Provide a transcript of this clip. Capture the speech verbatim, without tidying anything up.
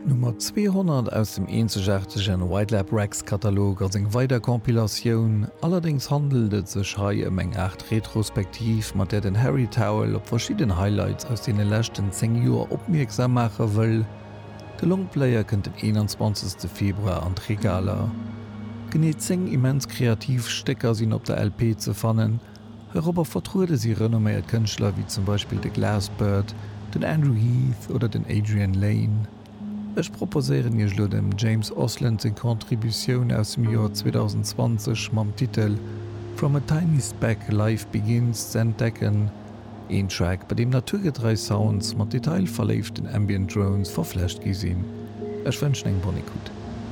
D'Nummer zweehonnert aus dem eenzegaartegen White Lab Recs Katalog ass eng weider Compilatioun, allerdéngs handelt et sech hei ëm eng Aart Retrospektiv, mat där den Harry Towell op verschidden Highlights aus deene leschten zéng Joer opmierksam maache wëll. De Longplayer kënnt den eenanzwanzegste Februar an d'Regaler. Genee zéng immens kreativ Stécker sinn op der L P ze fannen. Heirobber vertruede si renomméiert Kënschtler wéi zum Beispill de Glassbird, den Andrew Heath oder den Adrian Lane. Ech proposéieren iech elo dem James Oslund seng Contributioun aus dem Joer zweedausendzwanzeg mam Titel From a Tiny Speck Life Begins ze entdecken, een Track, bei deem naturgetrei Sounds mat detailverléiften Ambient Drones verflecht gi sinn. Ech wënschen eng bonne écoute.